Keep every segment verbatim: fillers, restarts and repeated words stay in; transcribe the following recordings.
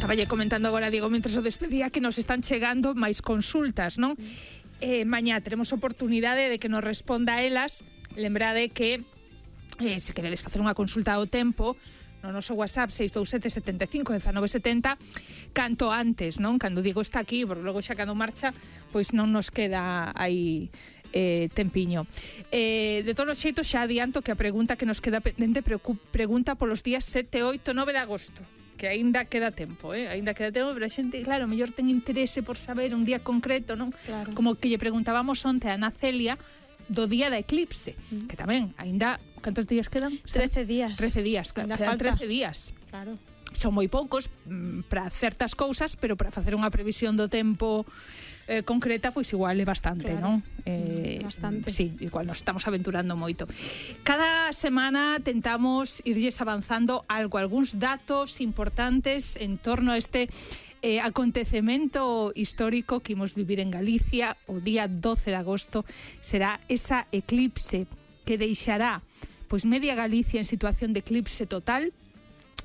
estaba lle comentando agora, Diego, mentres o despedía, que nos están chegando máis consultas, non? Eh, mañá teremos oportunidade de que nos responda a elas. Lembrade que eh, se queredes facer unha consulta ao tempo, no noso WhatsApp seis dous sete sete cinco uno nove sete cero, canto antes, non? Cando Diego está aquí, porque logo xa cando marcha, pois non nos queda aí eh, tempiño. Eh, de todos os xeitos, xa adianto que a pregunta que nos queda pendente pregunta polos días sete, oito, nove de agosto, que aínda queda tempo, eh? Aínda queda tempo, pero a xente, claro, mellor ten interese por saber un día concreto, non? Claro. Como que lle preguntábamos onte a Ana Celia do día da eclipse, mm. que tamén, aínda, cantos días quedan? trece días. trece días, claro, Ainda quedan falta. trece días. Claro. Son moi poucos mm, para certas cousas, pero para facer unha previsión do tempo eh, concreta, pois igual é bastante, Claro. non? Eh, Bastante. Sí, igual nos estamos aventurando moito. Cada semana tentamos irlles avanzando algo, algúns datos importantes en torno a este eh, acontecemento histórico que imos vivir en Galicia. O día doce de agosto será esa eclipse que deixará pois media Galicia en situación de eclipse total,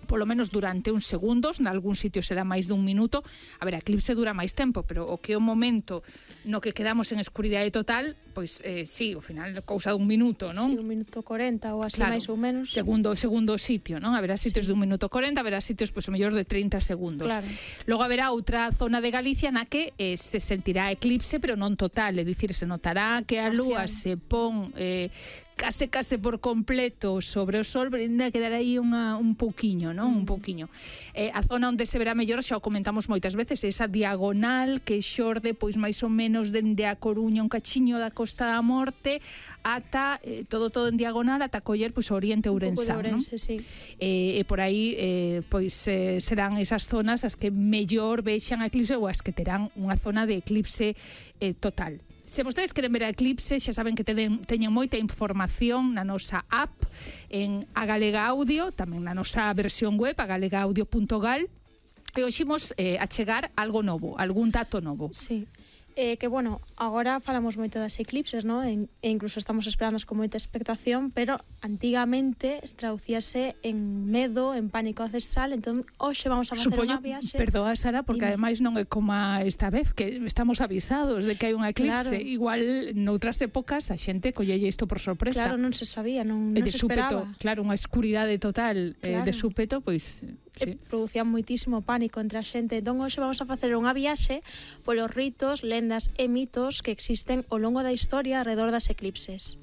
polo menos durante uns segundos, nalgún sitio será máis dun minuto. A ver, a eclipse dura máis tempo, pero o que é o momento no que quedamos en escuridade total, pois eh, sí, ao final cousa dun minuto, non? Sí, un minuto corenta ou así, Claro, máis ou menos. Segundo, segundo sitio, non? Haberá sitios Sí. dun minuto corenta, haberá sitios pois o mellor de trinta segundos. Claro. Logo haberá outra zona de Galicia na que eh, se sentirá eclipse, pero non total, é dicir, se notará que a lúa se pon eh, case case por completo sobre o sol, pero ainda quedará aí unha, un pouquiño, non? Mm. Un pouquiño. Eh, a zona onde se verá mellor, xa o comentamos moitas veces, esa diagonal que xorde pois máis ou menos dende a Coruña, un cachiño da Costa da Morte, ata eh, todo todo en diagonal ata coller pois o Oriente Ourensán, non? Ourense, sí. Eh, e por aí eh, pois eh, serán esas zonas as que mellor vexan a eclipse ou as que terán unha zona de eclipse eh, total. Se vostedes queren ver a eclipse, xa saben que teñen, teñen moita información na nosa app, en A Galega Audio, tamén na nosa versión web, a galega audio punto gal, e hoxe imos eh, a chegar algo novo, algún dato novo. Sí. Eh, que, bueno, agora falamos moito das eclipses, ¿no? E, e incluso estamos esperando con moita expectación, pero antigamente traducíase en medo, en pánico ancestral. Entón, hoxe vamos a facer Supoño, unha viaxe. perdoa, Sara, porque Dime. ademais non é como esta vez que estamos avisados de que hai unha eclipse. Claro. Igual noutras épocas a xente collelle isto por sorpresa. Claro, non se sabía, non, E non de se súpeto, esperaba. claro, unha escuridade total eh, Claro. de súpeto, pois Sí. sí. Producían moitísimo pánico entre a xente. Entón, hoxe vamos a facer unha viaxe polos ritos, lendas e mitos que existen ao longo da historia alrededor das eclipses.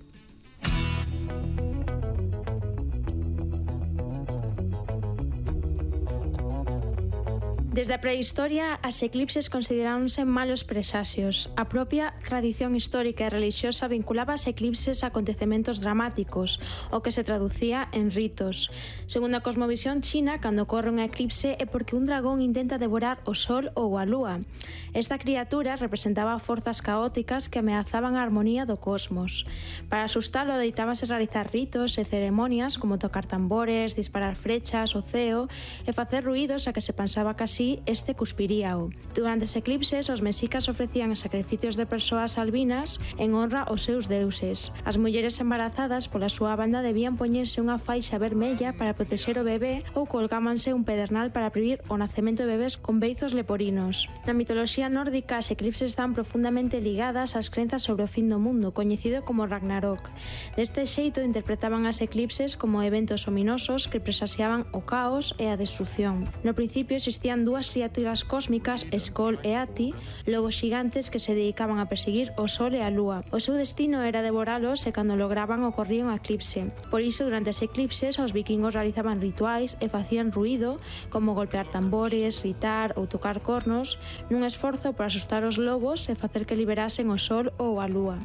Desde a prehistoria, as eclipses consideráronse malos presaxios. A propia tradición histórica e relixiosa vinculaba as eclipses a acontecementos dramáticos, o que se traducía en ritos. Segundo a cosmovisión china, cando ocorre unha eclipse é porque un dragón intenta devorar o sol ou a lúa. Esta criatura representaba forzas caóticas que ameazaban a armonía do cosmos. Para asustalo, deitábase realizar ritos e ceremonias como tocar tambores, disparar flechas ao ceo e facer ruídos a que se pensaba que así este cuspiríao. Durante as eclipses, os mexicas ofrecían sacrificios de persoas albinas en honra aos seus deuses. As mulleres embarazadas, pola súa banda, debían poñerse unha faixa vermella para protexer o bebé ou colgámanse un pedernal para prevenir o nacemento de bebés con beizos leporinos. Na mitoloxía nórdica, as eclipses están profundamente ligadas ás crenzas sobre o fin do mundo, coñecido como Ragnarok. Deste xeito, interpretaban as eclipses como eventos ominosos que presaxiaban o caos e a destrucción. No principio existían dúas criaturas cósmicas, Skoll e Ati, lobos xigantes que se dedicaban a perseguir o sol e a lúa. O seu destino era devoralos e cando lograban ocorría un eclipse. Por iso, durante as eclipses, os vikingos realizaban rituais e facían ruído, como golpear tambores, gritar ou tocar cornos, nun esforzo por asustar os lobos e facer que liberasen o sol ou a lúa.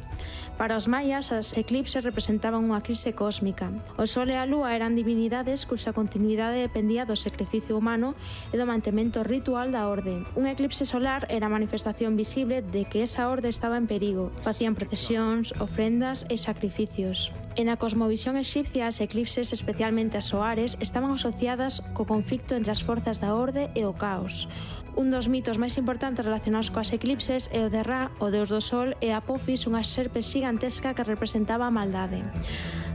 Para os mayas, as eclipses representaban unha crise cósmica. O sol e a lúa eran divinidades cuxa continuidade dependía do sacrificio humano e do mantemento ritual da orde. Un eclipse solar era a manifestación visible de que esa orde estaba en perigo. Facían procesións, ofrendas e sacrificios. En a cosmovisión exipcia, as eclipses, especialmente as soares, estaban asociadas co conflicto entre as forzas da orde e o caos. Un dos mitos máis importantes relacionados coas eclipses é o de Ra, o deus do sol, e Apophis, unha serpe xigantesca que representaba a maldade.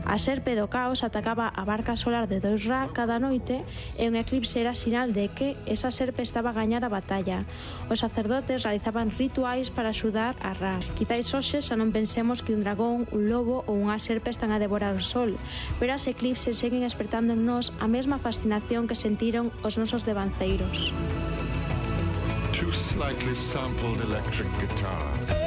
A serpe do caos atacaba a barca solar de Dois Ra cada noite e un eclipse era sinal de que esa serpe estaba a gañar a batalla. Os sacerdotes realizaban rituais para axudar a Ra. Quizáis hoxe xa non pensemos que un dragón, un lobo ou unha serpe están a devorar o sol, pero as eclipses seguen despertando en nós a mesma fascinación que sentiron os nosos devanceiros. Two slightly sampled electric guitars.